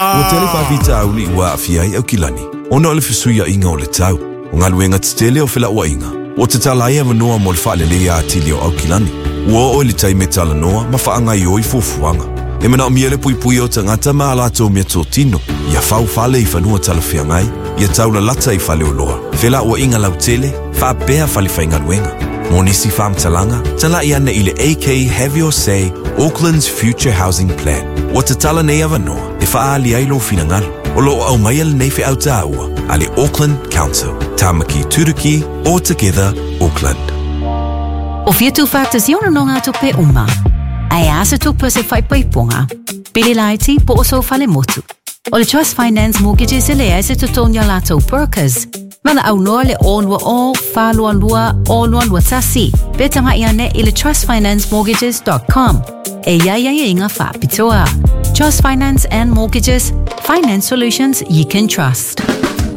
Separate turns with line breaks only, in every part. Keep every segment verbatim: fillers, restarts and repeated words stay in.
Ua tele faafitauli ua aafia ai Aukilani ona o le fesuiaiga o le tau. O galuega tetele o felauaiga ua tatala ai avanoa mo le faaleleia atili o Aukilani. Ua oo i le taimi e talanoa ma faagaioi fuafuaga. E manaomia le puipuia o tagata ma a latou meatotino, ia faufale i fanua talafeagai, ia taulalata i faleoloa, felauaiga lautele, faapea fale faigaluega. Mo nisi faamatalaga, talai ane i le A K Have Your Say, Auckland's Future Housing Plan. Ua tatala nei avanoa e faaali ai lou finagalo. O loo aumaia lenei feau taua a le Auckland Council. Tamaki Turuki, all together, Auckland.
O fia tū whātasi ona no ngā tupe uma. Ai a se tupe se whaipaiponga. Pili laiti po o so fale motu. O le Trust Finance Mortgages e lea se tutonia lātou brokers. Mana au noa le o lua o, whālua lua, o lua lua tasi. Pe tanga ia ne i le trust finance mortgages dot com. E ia ia ia inga whāpitoa. Trust Finance and Mortgages, finance solutions you can trust.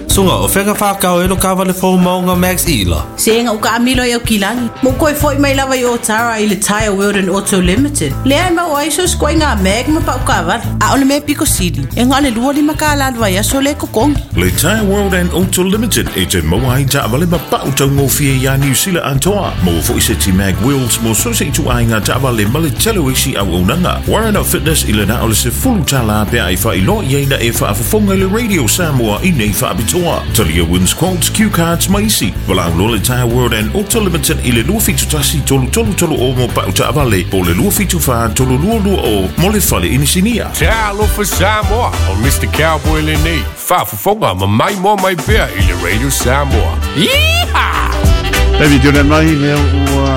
Sunga, o whenga whakau e lo kawale fō maunga Max Ila.
Se inga uka amilo i au kilangi. Mo koe foi mai lava i o tara i le Tire World and Auto Limited. Lea e mau aiso skoe ngā mag ma pau kawale. A ole me piko sili. E ngā le lua lima ka lalua ia so le kokongi.
Le Tire World and Auto Limited e te maua ai ta awale ma pau tau ngōwhia ia New Zealand antoa. Mo fo ise ti mag wheels mo so se itu ai ngā ta awale ma le telo isi au unanga. Warren of Fitness i le na ole se fulu tala pea i wha ilo ia ina e wha afafonga i le Radio Samoa i nei wha apitoa. Talia wins quotes, cue cards maisi. Walau lo le Tire World and Auto Limited i le lua fitu tasi tolu tolu tolu o mo pau ta awale po le lua fitu wha tolu lua lua o mo le fale inisinia.
Talofa Samoa o Mister Cowboy lenei. Whaafafonga ma mai mo mai pea i le Radio Samoa. Yeehaw!
Baby, tuna mai lea ua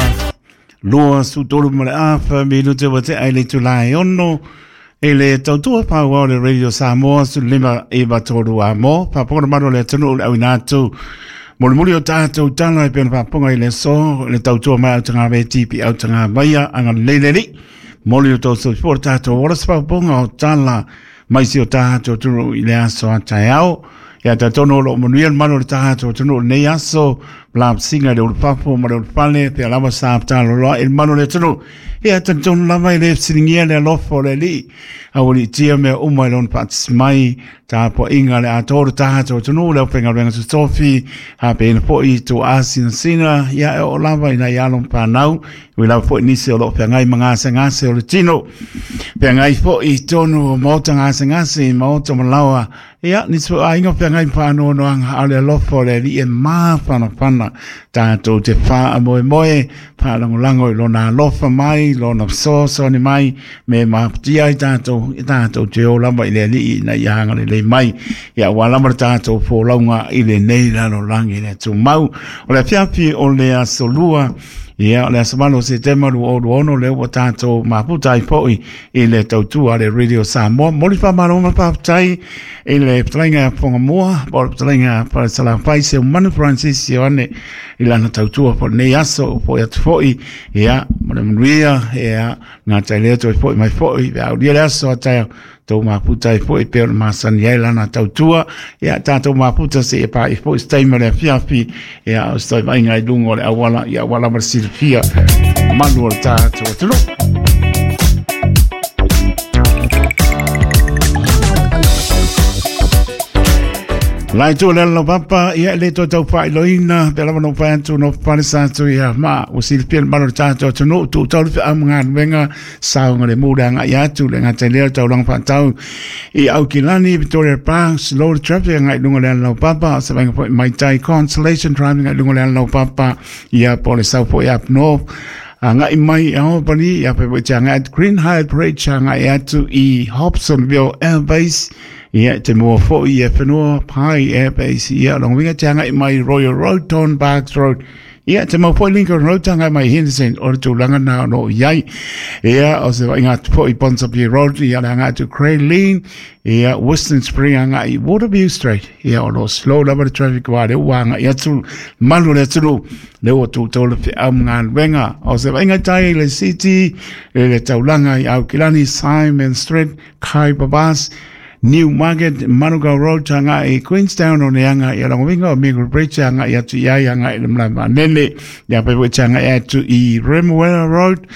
lua su tolu ma le afa minute wa te ai le tulai ono. E le tautua pau le Radio Samoa su lima e tolu a mo. Paponga mano le tunu le awinatu. Moli moli o tātou tala e pena paponga i le so. Le tautua mai au tanga ve tipi au tanga maia anga leileli. Moli o tau soifua tātou wala se paponga o tala mai si o tātou tunu i le aso a taeao. Ia tātono lo manuia le mano le tātou tunu nei aso. La singa le ulupapo ma le ulupale pe lava sa talo loa e mano le tunu. Ia tantonu lava i le silingia le alofa o le alii. Aua tia mea uma i lona faatasi mai tapuaiga le atoa o le tatou atunuu le aufaigaluega totofi hapeina foʻi tou asinasina ia e oo lava ina ia alo ma fanau ui lava foʻi nisi o loo feagai ma gasegase o le tino feagai foʻi i tonu o maota gasegase maota malaoa ia nisi foʻi aiga feagai ma faanoanoaga a o le alofa o le alii e mafanafana tatou te faamoemoe faalagolago i lona alofa mai lona fesoasoani mai me mafatia ai tatou i tatou te o lava i le alii ina ia agalelei mai ia ua lava le tatou folauga i lenei lalolagi le tumau o le afiafi o le aso lua ia o le aso valo o Setema lua o lua ono lea ua tatou mafuta ai foʻi i le tautua le Radio Samoa. Moli faamalo ma faafetai i le fetalaiga ia Fogamua po o le fetalaiga Falesalafai Seumanu Francis Ioane i lana tautua po lenei aso foʻi atu foʻi ia mo le manuia ia gatai lea toe foʻi mai foʻi feaulia le aso a taeao tou mafuta ai foʻi pei o le masani ai lana tautua ia tatou mafuta seia paʻi foʻi se taimi o le afiafi ia o se taivaiga i luga o le auala ia ua lava le silafia malu o le tatou atunuu. Lai tu le lo papa ia le to tau failoina pe lava no pa atu no palesa atu ia ma o silafia le malu o le tatou atunuu tuu tau le feau ma galuega saoga le mu le agai atu le gata i lea le taulaga faatau i Aukilani Victoria Park slow traffic agai luga o le ala laupapa o se vaega foʻi maitai Constellation Driving agai luga o le ala laupapa ia po o le sau foʻi up north agai mai i Albany ia pe foʻi te agai atu Green High Bridge agai atu i Hobsonville Airbase ia te mua foʻi e whenua Pai Airbase ia longa te agai mai Royal Road Don Barks Road ia te mau foʻi Lincoln Road te agai mai Henderson o le tulaga na o loo iai ia o se vaaiga atu foʻi Ponsonby Road ia le agai atu Crayleen ia Western Spring agai Waterview Street ia o loo slow lava le traffic wa le ua agai atu malu le atunuu le ua toutou le feau ma galuega o se vaaiga tai i le city le le taulaga i Aukilani Simon Street Kai Babas New Market, Manukau Road, anga i Queenstown o ne anga i Longovinga o Mingle Bridge anga i atu iai anga i le malae vaalele ia pe foʻi te agai atu i Remuera Road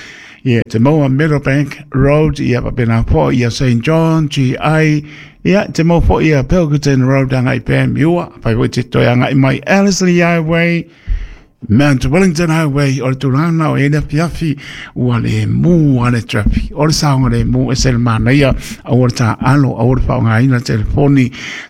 ia te maua Meadowbank Road ia papena foʻi ia Saint John G I Ia te mau fo'i a Pilkington Road anga i Panmure, pai fo'i te toe anga i mai Ellerslie Highway, Mount Wellington Highway, o le tūlanga o ele afiafi, ua le mū a le traffic. O le saonga le mū e se le manaia, au le tā alo, au le whaongaina telefoni,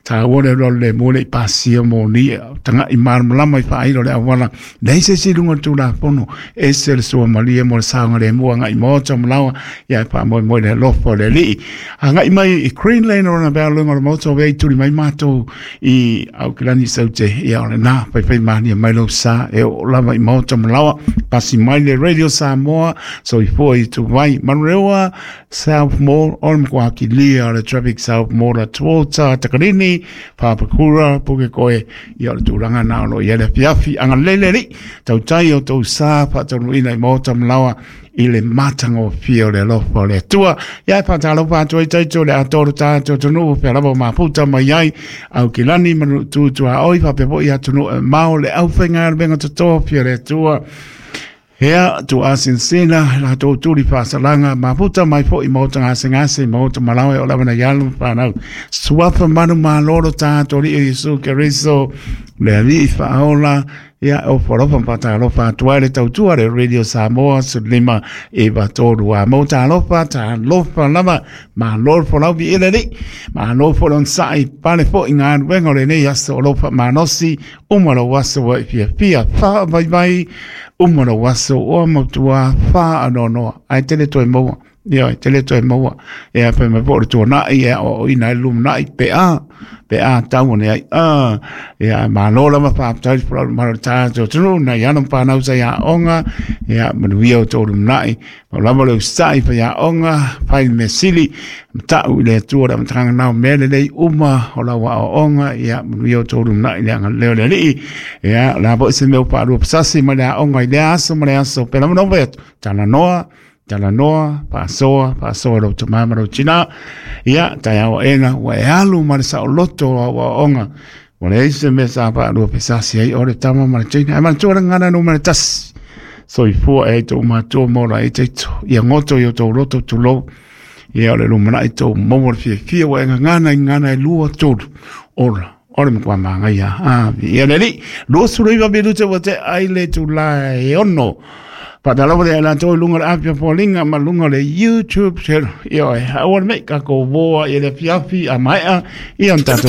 tā ua le lolo le mū le i pasia mō ni, tanga i malamalama i whaailo le awala. Nei se si lunga tū la pono, e se le sua malia mo le saonga le mū anga i mōta malawa, ia e pā moi moi le lofo le lii. Anga i mai i Greenland o na bea lunga o le mōta o vei turi mai mātou i Aukilani saute, ia o le nā, pai pai mania mai lau sa, e o lava i maota malawa, pasi mai le Radio Samoa, so i fua i tu vai, Manurewa, South Mall, o le mkua lia o le traffic South Mall a Tuota, Takarini, Papakura, Pukekohe, ia o le tūranga nā o lo i ele fiafi, anga lele li, tautai o tau sa, whaataunu ina i maota malawa, i le matanga o fia o le alofa o le Atua. Ia e whātalo whātua i taito le atoro tātou tonu pe lava maputa mai ai au ki lani manu tūtua oi whapea i atunu e mao le au whenga le benga toto fia le Atua. Hea tu asinsina la tō turi whāsalanga maputa mai fo i mauta ngase ngase mauta malawe o lawana yalu whanau. Suafa manu maloro tātou li Isu Keriso le ali i whaola. Ia o whalofa mpata alofa tua le tautua le Radio Samoa su lima e va tolu a mauta alofa ta alofa lava ma lor fo lau vi ele li ma lor fo lon sai pale fo i ngā wenga le nei aso alofa manosi uma lo waso wa i fia fia wha vai vai uma lo waso o mautua wha anonoa ai tele toe maua. Ia, e tele toe maua. Ia, pe me po le tuanai, ia, o ina e lumanai, pe a, pe a tau ne ai, a, ia, ma lola ma whāptai, pura maro tātou tunu, na ia no whānau sa ia onga, ia, manuia o tō lumanai, ma lama le usai pa ia onga, pai me sili, matau i le atua le matanga nao mele lei uma o la wa o onga, ia, manuia o tō lumanai, le anga leo le lii, ia, la po se meo whārua pasasi, ma le a onga i le aso, ma le aso, pe lama no atu, tana noa, Tala noa, pāsoa, pāsoa rau te mama rau tina. Ia, tai awa ena, ua e alu ma le sao loto o awa onga. Ua le eise me sa pa rua pesasi ai, ore tama ma le tina. Ai mana tua ngana no ma le tasi. So i fua e tō matua mora e teito. Ia ngoto i o tō roto tū lou. Ia o le lumana i tō maua le fia fia wa e ngana i ngana e lua tōru. Ora. Ora mkwa manga ia. Ah, ia le li. Lua suru iwa minute wa te aile tū la e ono. Patalawa le la toi lunga le apia polinga ma lunga le YouTube channel. Ia e awa me ka ko voa i le fiafi a maea i on tatou